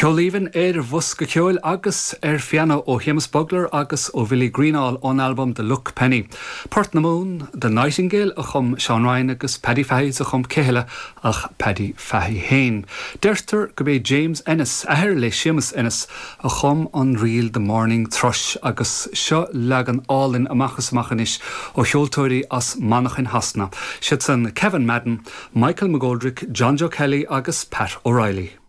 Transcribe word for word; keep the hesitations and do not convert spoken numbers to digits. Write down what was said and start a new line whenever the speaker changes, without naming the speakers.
Ceol aoibhinn ar bhosca ceoil agus ar phianó ó Shéamus Bugler agus ó Bhilly Greenall ón albam The Luck Penny. Port na mBan The Nightingale a chum Seán Ryan agus Paddy Fahey a chum céile ach Paddy Fahey féin. Deirtear gurb é James Ennis athair le Séamus Ennis a chum an ríl The Morning Thrush agus seo leagan álainn amach is amach anois ó cheoltóirí as Manchain Shasana. Siad san Kevin Madden, Michael McGoldrick, John Joe Kelly agus Pat O'Reilly.